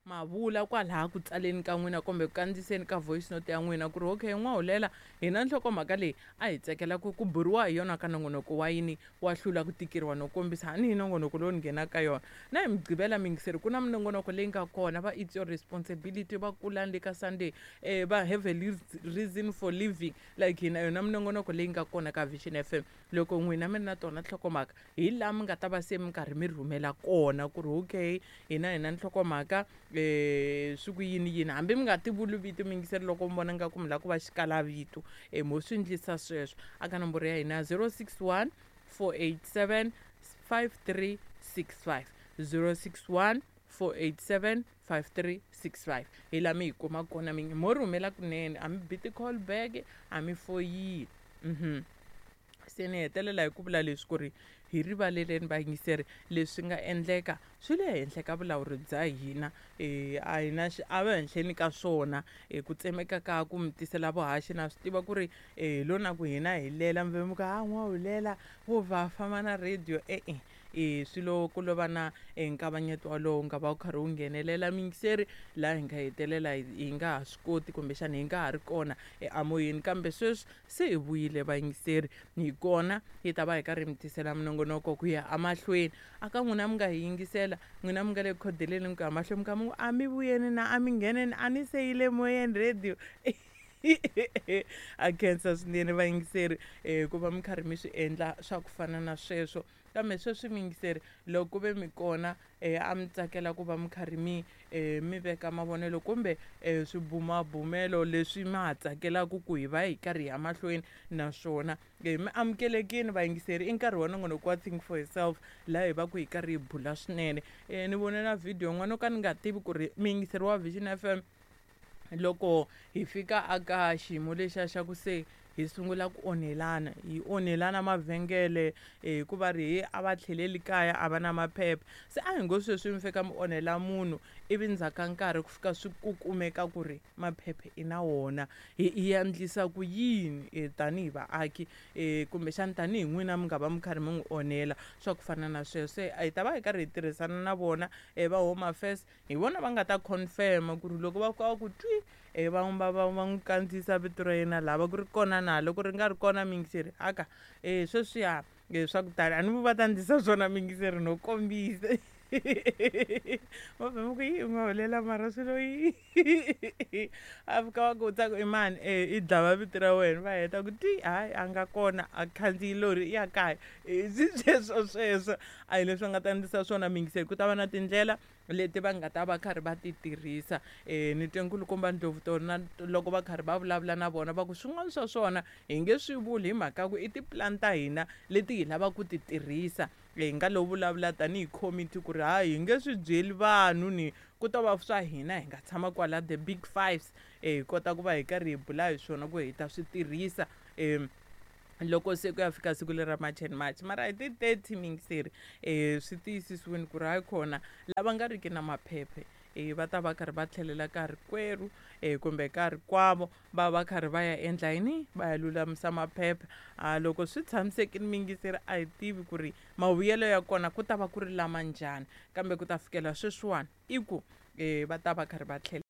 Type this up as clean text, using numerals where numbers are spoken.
Ma vula kwalaha ku tsaleni ka n'wina kumbe ku kandziyiseni ka voice note ya n'wina ku ri okay n'wahulela hina nhlokomhaka leyi a hi tsakela ku ku buriwa hi yona ka nongonoko wa yini wa hlula ku tikeriwa no kombisa hani hi nongonoko lowu ni nghenaka ka yona na hi mugqivela miyingiseri ku na minongonoko leyi nga kona va it's your responsibility va kulani le ka Sunday va have a reason for living like hina yona minongonoko leyi nga kona ka Vision FM loko n'wina mi ri na tona nhlokomhaka hi laha mi nga ta va se mi karhi mi rhumela kona ku ri okay hina hi na nhlokomhaka swi ku yini yini hambi mi nga ti vuli vito miyingiseri loko mi vona nga ku mi lava ku va xikalavito mo swi endlisa sweswo aka nomboro ya hina 061 487 5365 061 487 5365 hi laha mi hi kuma kona mi mo rhumela kunene a mi bi ti-call back a mi foyini Se ni hetelela hi ku vula leswi ku ri hi rivaleleni vayingiseri leswi nga endleka swi le henhla ka vulawuri bya hina a hi na xiave henhleni ka swona ku tsemeka ka ku mi tisela vuhaxi na swi tiva ku ri hi lo na ku hina hi lela mi ve mi ku ha n'wahulela vo va famba na radio e-e E swilo ku lo va na e nkavanyeto walowo wu nga va wu karhi wu nghenelela muyingiseri laha hi nga hetelela hi nga ha swi koti kumbexana hi nga ha ri kona eamoyeni kambe sweswi se hi vuyile vayingiseri hi kona hi ta va hi karhi mi tisela minongonoko ku ya emahlweni a ka n'wina mi nga hi yingisela n'wina mi nga le ku khodeleni mi ku ya mahlweni mi kha mi ku a mi vuyeni na a mi ngheneni a ni se yi le moyeni radio a khensa swinene vayingiseri um ku va mi karhi mi swi endla swa ku fana na sweswo Kambe sweswi muyingiseri, loko ku ve mi kona, a mi tsakela ku va mi karhi mi, mi veka mavonelo kumbe swibumabumelo leswi ma ha tsakelaka ku hi va hi karhi hi ya mahlweni na swona, mi amukelekile vayingiseri. I nkarhi wa nongonoko wa Think for Yourself laha hi va ku hi karhi hi bula swinene. Ni vone na video yin'wana no ka ni nga tivi ku ri muyingiseri wa Vision F_M loko hi fika aka xiyimo lexiya xa ku se hi sungula ku onhelana hi onhelana mavhengele hikuva ri he a va tlheleli kaya a va na maphepha se a hi ngo sweswi mi fika mi onhela munhu ivi ndzhaku ka nkarhi ku fika swi ku kumeka ku ri maphepha i na wona hi hi endlisa ku yini tanihi vaaki kumbexana tanihi n'wina mi nga va mi karhi mi n'wi onhela swa ku fana na sweswo se hi ta va hi karhi hi tirhisana na vona va Home Affairs Hi vona va nga ta confirm ku ri loko va fika va ku twi va va va va n'wi kandziyisa vito ra yena laha va ku ri kona na loko ri nga ri kona muyingiseri aka e sweswiya swa ku tala a ni va ta ndlisa swona muyingiseri no kombisa va vhe va ku yi u nga hulela mara swilo yi a fika va ku tsaku i mani e i dlava vito ra wena va heta ku twi hayi a nga kona a khandziyi lori i ya kaya swi sweswo sweswo a hi leswi va nga ta ndlisa swona muyingiseri ku ta va na tindlela leti va nga ta va karhi va ti tirhisa ni twe nkulukumba Ndlovu tona loko va karhi va vulavula na vona va ku swin'wana swa swona hi nge swi vuli hi mhaka ku i tipulani ta hina leti hi lavaka ku ti tirhisa hi nga lo vulavula tanihi committee ku ri hayi hi nge swi byeli vanhu ni ku to va swa hina hi nga tshama kwala the big fives hi kota ku va hi karhi hi bula hi swona ku hi ta swi tirhisa loko se ku ya fika siku leri ra March and March mara hi ti 30 miyingiseri swi tiyisisiwini ku ri hayi khona lava nga riki na maphephe va ta va karhi va tlhelela ka rikwerhu kumbe ka rikwavo va va karhi va ya endla yini va ya lulamisa maphepha a loko swi tshamisekile miyingiseri a hi tivi ku ri mavuyelo ya kona ku ta va ku ri lama njhani kambe ku ta fikela sweswiwani i ku va ta va karhi va tlhela.